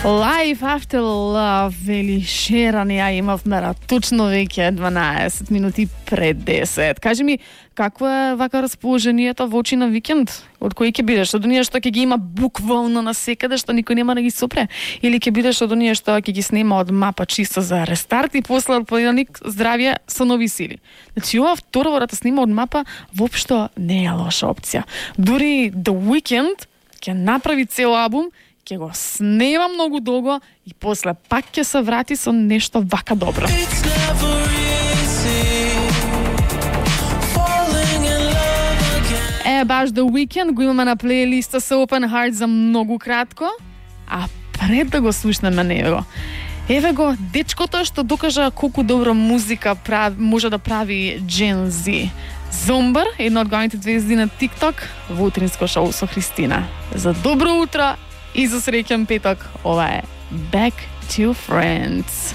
Life After Love, вели Шерани, ја имавме точно веќе 12 минути пред 10. Кажи ми, какво е вака расположението во очи на викенд? Од кој ќе бидеш? Од оние што ќе ги има буквално насекаде, што никој нема да ги сопре? Или ќе бидеш од оние што ќе ги снема од мапа чисто за рестарт и после од понеделник здравје со нови сили? Значи, ова второ да те снима од мапа воопшто не е лоша опција. Дури The Weeknd ќе направи цел албум, ќе го снема многу долго и после пак ќе се врати со нешто вака добро. Баш The Weeknd го имаме на плейлиста со Open Heart за многу кратко, а пред да го слушнеме него, еве го дечкото што докажа колку добро музика може да прави Gen Z. Зомбар, една од главните звезди на TikTok, во утринско шоу со Христина. За добро утро и за среќен петок, ова е Back to Friends.